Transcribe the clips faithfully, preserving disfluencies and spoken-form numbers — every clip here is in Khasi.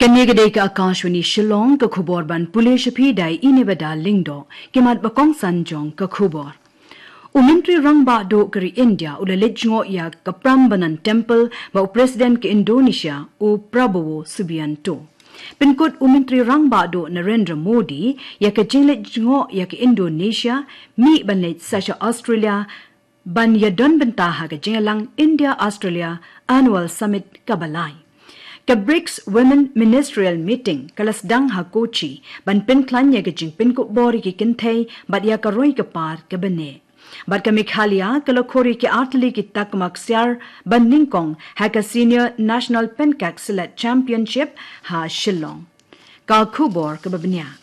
Kane ka dei ka Akashvani Shillong, ka khubor ban pule sha phi da i Nebada Lyngdoh, ki mat ba kongsan jong ka khubor. U Myntri Rangbah Duh ka ri India u la leit jngoh ïa ka Prambanan Temple bad u President ka Indonesia u Prabowo Subianto. Pynkut u Myntri Rangbah Duh Narendra Modi ïa ka jingleit jngoh ïa ka Indonesia, mih ban leit sa sha Australia ban ïadon bynta ha ka jingïalang India-Australia Annual Summit kaba lai. Ka BRICS Women Ministerial Meeting ka la sdang ha Kochi ban pynkhlaiñ ïa ka jingpynkup bor ïa ki kynthei bad ïa ka roi ka par kaba neh. Bad ka Meghalaya ka la khur ïa ki artylli ki takma ksiar ba nyngkong ha ka Senior National Penkak Silat Championship ha Shillong. Ka khubor kaba bniah.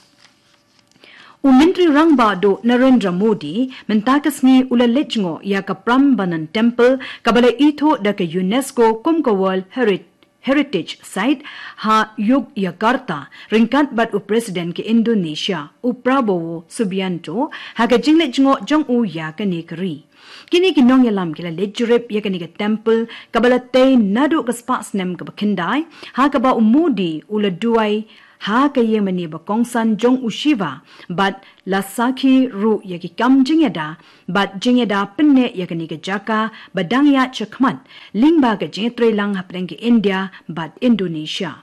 U Myntri Rangbah Duh Narendra Modi mynta ka sngi u la leit jngoh ïa ka Prambanan Temple kaba la ithuh da ka UNESCO kum ka World Heri- Heritage Site ha Yogyakarta, ryngkat bad u President ka Indonesia u Prabowo Subianto ha ka jingleit jngoh jong u ïa kane ka ri. Kine ki nongïalam ki la leit jurip ïa kane ka temple kaba la tei naduh ka spah snem kaba khyndai, ha kaba u Modi u la duwai ha ka ïingmane ba kongsan jong u Shiva bad la sakhi ruh ïa ki kam jingïada bad jingïada pynneh ïa kane ka jaka ba dang ïaid shakhmat lyngba ka jingïatreilang hapdeng ka India bad Indonesia.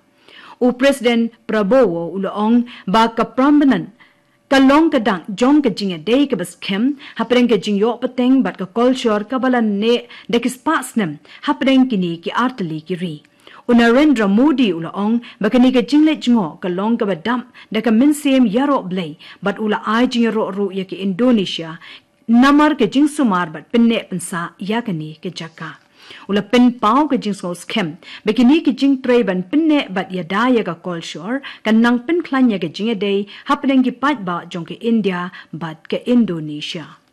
U President Prabowo u la ong ba ka Prambanan ka long ka dak jong ka jingïadei kaba skhem hapdeng ka jingïoh pateng bad ka kolshor kaba la neh da ki spah snem hapdeng kine ki artylli ki ri. U Narendra Modi u la ong ba kane ka jingleit jngoh ka long kaba dap da ka mynsiem ïaroh Blei bad u la ai jingïaroh ruh ïa ka Indonesia namar ka jingsumar bad pynneh pynsah ïa kane ka jaka. U la pynpaw ka jingsngewskhem ba kine ki jingtrei ban pynneh bad ïada ïa ka kolshor kan nang pynkhlaiñ ïa ka jingïadei hapdeng ki paidbah jong ka India bad ka Indonesia.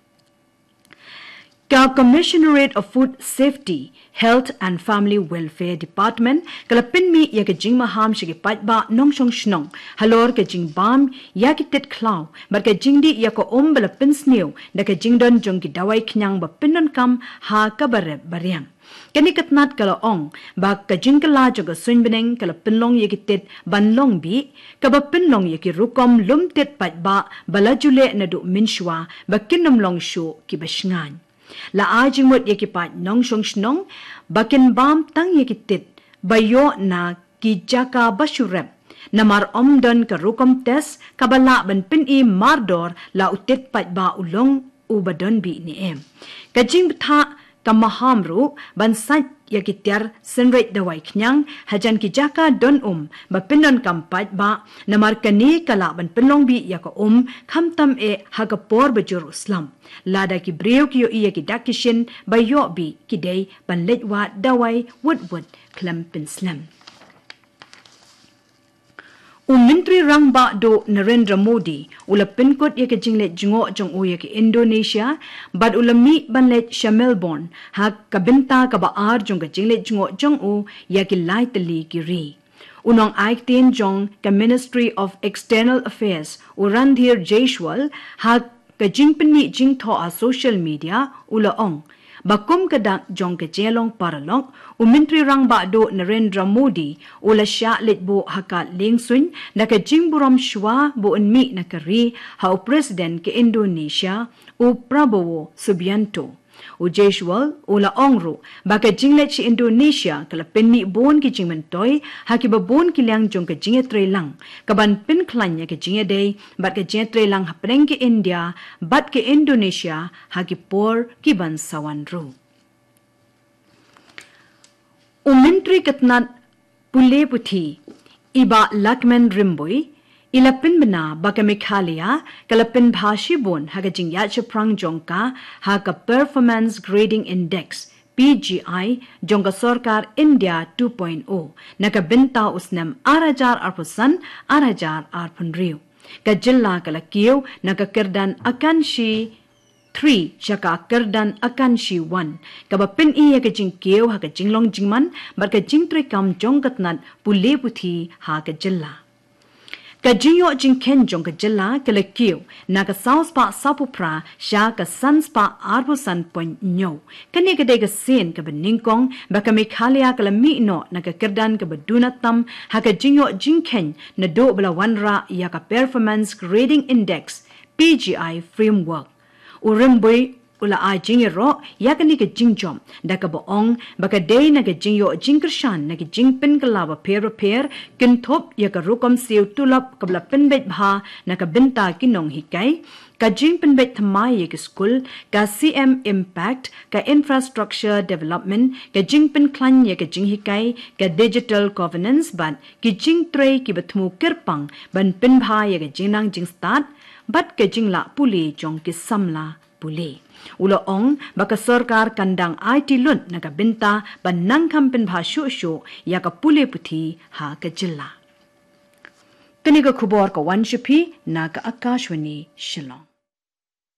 Ka Commissionerate of Food Safety, Health and Family Welfare Department ka la pynmih ïa ka jingmaham sha ki paidbah nongshong shnong halor ka jingbam ïa ki tit khlaw bad ka jingdih ïa ka um ba la pynsniew da ka jingdon jong ki dawai khñiang ba pyndonkam ha kaba rep ba riang. Kane ka tnat ka la ong ba ka jingkylla jong ka suiñ bneng ka la pynlong ïa ki tit ban long bih, kaba pynlong ïa ki rukom lum tit paidbah ba la ju leh naduh mynshuwa ba kin ym long shuh kiba shngaiñ. La ai jingmut ïa ki paid nongshong shnong ba kin bam tang ïa ki tit ba ïoh na ki jaka ba shu rep, namar ym don ka rukom test kaba lah ban pyni mardor la u tit paidbah u long uba don bih ne em. Ka jingbthah ka maham ruh ban sait ïa ki tiar synreit dawai khñiang hajan ki jaka don um ba pyndonkam paidbah, namar kane ka lah ban pynlong bih ïa ka um khamtam eh ha ka por ba jur u slap. Lada ki briew ki ïohi ïa ki dak ki shin ba ïoh bih, ki dei ban leit wad dawai wut wut khlem pynslem. U Myntri Rangbah Duh Narendra Modi u la pynkut ïa ka jingleit jngoh jong u ïa ka Indonesia bad u la mih ban leit sha Melbourne ha ka bynta kaba ar jong ka jingleit jngoh jong u ïa ki lai tylli ki ri. U nongai ktien jong ka Ministry of External Affairs u Randhir Jaiswal ha ka jingpynmih jingthoh ha social media u la ong ba kum ka dak jong ka jinglong paralok, u Myntri Rangbah Duh Narendra Modi u la shah leit buh ha ka liengsuiñ da ka jingburom shuwa ba un mih na ka ri ha u President ka Indonesia u Prabowo Subianto. U Jaiswal u la ong ruh ba ka jingleit sha Indonesia ka la pynmih bun ki jingmyntoi ha kiba bun ki liang jong ka jingïatreilang kaban pynkhlaiñ ïa ka jingïadei bad ka jingïatreilang hapdeng ka India bad ka Indonesia ha ki por kiban sa wan ruh. U Myntri ka tnat pule puthi i Bah Lahkmen Rymbui i la pynbna ba ka Meghalaya ka la pynbha shibun ha ka jingïaid shaphrang jong ka ha ka Performance Grading Index, P G I, jong ka sorkar India two point o na ka bynta u snem ar hajar arphew san ar hajar arphew hynriew. Ka jylla ka la kiew na ka kyrdan Akanshi three sha ka kyrdan Akanshi one, kaba pyni ïa ka jingkiew ha ka jinglong jingman bad ka jingtreikam jong ka tnat pule puthi ha ka jylla. Ka jingïoh jingkheiñ jong ka jylla ka la kiew na ka saw spah saw phew phra sha ka san spah ar phew san point hynñiew. Kane ka dei ka sien kaba nyngkong ba ka Meghalaya ka la mih noh na ka kyrdan kaba duna tam ha ka jingïoh jingkheiñ naduh ba la wanrah ïa ka Performance Grading Index, P G I framework. U Rymbui u la ai jingïaroh ïa kane ka jingjop da kaba ong ba ka dei na ka jingïoh jingkyrshan na ka jingpynkylla bapher bapher, kynthup ïa ka rukom siew tulop kaba la pynbeit bha na ka bynta ki nonghikai, ka jingpynbeit thymmai ïa ki skul, ka C M Impact, ka infrastructure development, ka jingpynkhlaiñ ïa ka jinghikai, ka digital governance bad ki jingtrei kiba thmu kyrpang ban pynbha ïa ka jingnang jingstad bad ka jinglah pule jong ki samla pule. U la ong ba ka sorkar kan dang aiti lut na ka bynta ban nang kham pynbha shuh shuh ïa ka pule puthi ha ka jylla. Kane ka khubor ka wan sha phi na ka Akashvani Shillong.